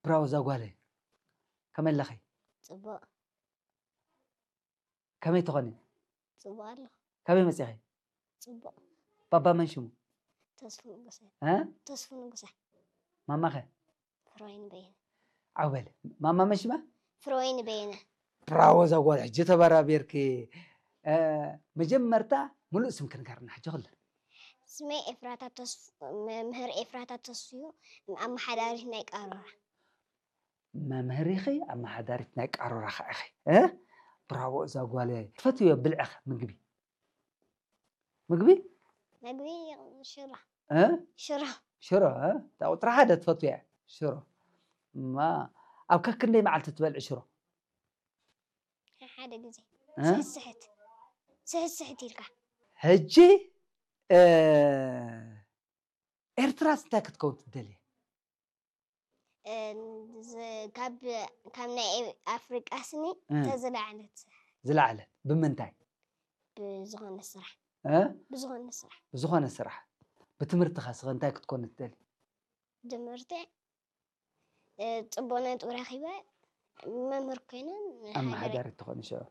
ብራቮ ዛጓለይ። ከመይ ኣለኺ? ጽቡቕ ከመይ ትኾኒ? ጽቡቕ ኣለኹ። ካበይ መጺኺ? ጽቡቕ ባባ መን ሽሙ? ተስፉ ንጉሰ እ? ተስፉ ንጉሰ ማማኸ? ፍሮይን በየነ ዓው በል። ማማ መን ሽማ? ፍሮይን በየነ ብራቮ ዛጓል። ሕጂ ተበራቢርኪ። እ፣ መጀመርታ ሙሉእ ስምኪ ንገርና ሕጂ ኩሉ። ስመይ ኤፍራታ ተስፉ መምህር ኤፍራታ ተስፉ እዩ። ኣመሓዳሪት ናይ ቃሮራ መምህር ኢኺ፣ ኣመሓዳሪት ናይ ቃሮራ ኸዓ ኢኺ። እ? ብራቮ እዛ ጓለይ። ትፈትዮ ብልዕኸ ምግቢ? ምግቢ? መግቢ ሽሮ እ? ሽሮ ሽሮ፣ እ? እታ ቁፅሪ ሓደ ትፈትያ ሽሮ። እማ ኣብ ከክንደይ መዓልቲ ትበልዒ ሽሮ? ሓደ ግዜ እ? ስሕት ስሕት ስሕት ስሕት ኢልካ ሕጂ፣ እ፣ ኤርትራስ እንታይ ክትከውን ትደልየ? እ፣ ዝ- ካብ ካብ ናይ ኤ- ኣፍሪቃ ስኒ እ። ተዝለዓለት ዝለዓለት ብምንታይ? ብዝኾነ ስራሕ እ? ብዝኾነ ስራሕ ብዝኾነ ስራሕ። ብትምህርትኻ ስኸ እንታይ ክትኮን ትደሊ? ትምህርቲ እ፣ ጽቡቕ ነጥቢ ረኺበ መምህር ኮይነ ኣመሓዳሪ ትኾን ሽዑ።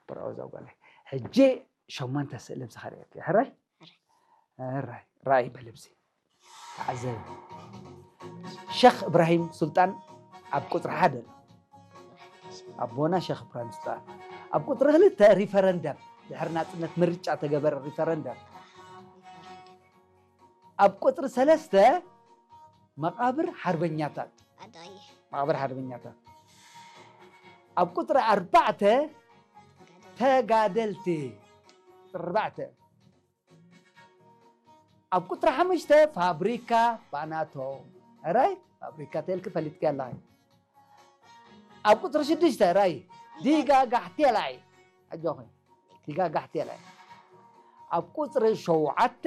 ብራቮ እዛ ጓለይ። ሕጂ ሸሞንተ ስእሊ ኣብዚ ከርእየኪ። ሕራይ? ሕራይ። ራእይ በልብሲ። ተዓዘቢ። ሸኽ እብራሂም ሱልጣን ኣብ ቁፅሪ ሓደ ኣሎ። ኣቦና ሸኽ እብራሂም ሱልጣን። ኣብ ቁፅሪ ክልተ ሪፈረንደም፣ ድሕሪ ናፅነት ምርጫ ተገበረ ሪፈረንደም። ኣብ ቁፅሪ ሰለስተ መቓብር ሓርበኛታት። ኣዳየ መቓብር ሓርበኛታት። ኣብ ቁፅሪ ኣርባዕተ ተጋደልቲ። ቁፅሪ ኣርባዕተ። ኣብ ቁፅሪ ሓሙሽተ ፋብሪካ ባናቶም። ሕራይ? ፋብሪካ ተልኪ ፈሊጥኪ ኣለኺ። ኣብ ቁፅሪ ሽዱሽተ ራይ ዲጋ ጋሕቴላይ። ኣጆኺ። ዲጋ ጋሕቴላይ። ኣብ ቁፅሪ ሸውዓተ